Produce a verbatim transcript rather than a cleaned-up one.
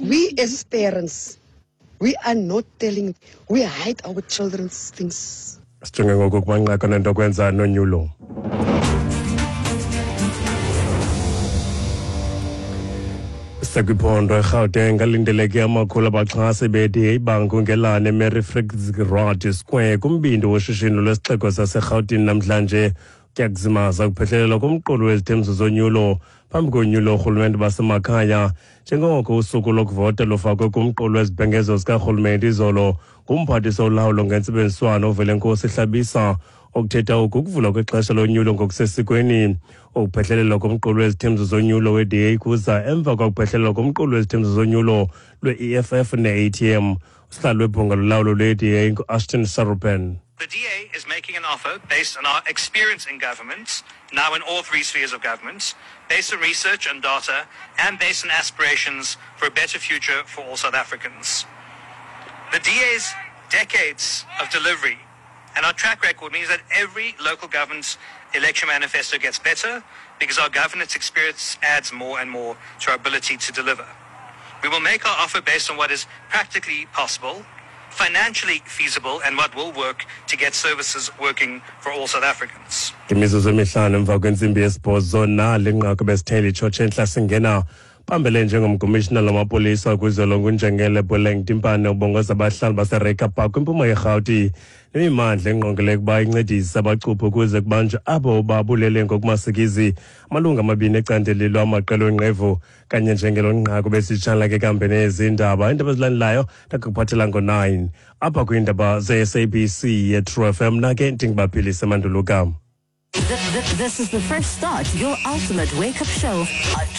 We as parents, we are not telling, we hide our children's things. Sijonge ngoku kumanqaku nento kwenza nonyulo. Sekwiphondo eGauteng alindeleke amakhulu abaxhasi be-D A bangungelane eMary Fitzgerald Square kumbindi woshishino lwesixeko saseRhawutini namhlanje. Kuyakuzimaza ukuphehlelelwa komqulu wezithembiso zonyulo phambi konyulo oorhulumente basemakhaya, njengoko usuku lokuvota lufakwe kumqulu wezibhengezo zikarhulumente izolo ngumphathiswa olawulo ngentsebenziswano uVelenkosi Hlabisa. Okuthetha oku ukuvulwa kwexesha lonyulo ngokusesikweni. Ukuphehlelelwa komqulu wezithembiso zonyulo we-D A kuza emva kwakuphehlelelwa komqulu wezithembiso zonyulo lwe-E F F ne-A T M. Usihlalo webhunga lolawulo lwe-D A ngu-Ashton Sarupen. The D A is making an offer based on our experience in government, now in all three spheres of government, based on research and data, and based on aspirations for a better future for all South Africans. The D A's decades of delivery and our track record means that every local government election manifesto gets better because our governance experience adds more and more to our ability to deliver. We will make our offer based on what is practically possible, financially feasible, and what will work to get services working for all South Africans. Imizuzu emihlanu emva kwentsimbi yesibhozo nali nqaku besithele itshotshe entla singena phambili njengomkomishinala wamapolisa kwizwe ngunjengele Boleng Timpane ubongoza abahlali baseReiger Park kwimpuma yeRhawuti nemimandla engqongileyo ukuba incedise abacuphi ukuze kubanjwe abo babulele ngokumasikizi amalungu amabini ecandelelo amaqela onqevu. Kanye njengelo nqaku besitshala ke kambe nezindaba. Iindaba ezilandelayo ndakuphathela ngo-nine apha kwiindaba ze-S A B C ye-True F M. Nake ndingubaphilise Manduluka. This is the first start, your ultimate wake-up show on